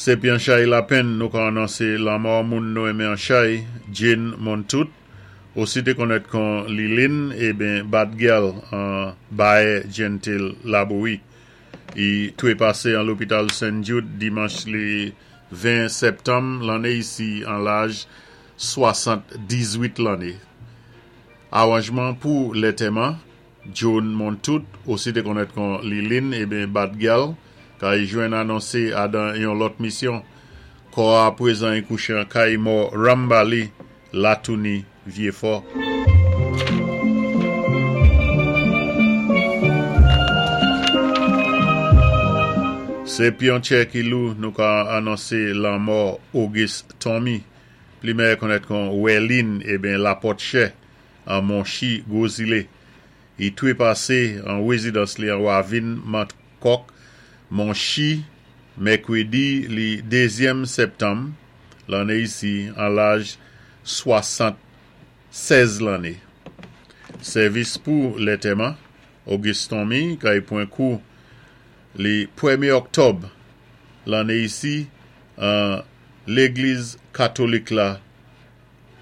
Sé pi an chay lapenn nou ka anonsé lanmò moun nou enmen an chay, Jane Montout, osi té konnèt kon Lilin eben Bad Girl an Bayè Gentil Labouyi. I twépasé an lopital Sen Jude dimanch li 20 sèptanm lanné isi an laj 78 lanné. Awanjman pou lètèman. Joan Montout, osi té konnèt kon Lilin eben Bad Gyal, ka y jwenn anonse adan yon lòt misyon. Kò a prezan y kouché an kay mò Rambali, Latouni, Vyefò. Sé pi yon tchè ki lou nou ka anonse lanmò Auguste Tommy, pli mèyè konnèt kon Wèlin eben Lapòtchè, an Monchi, Gwo Zile. I twépasé an wézidans li an Wavin Mantkòk, Monchi, mèkwédi li dézyèm sèptanm lanné isi an laj 76 lanné. Sèvis pou lètèman, Auguste Tommy kay pwan kou li pwèmyé òktòb lanné isi an légliz katolik la.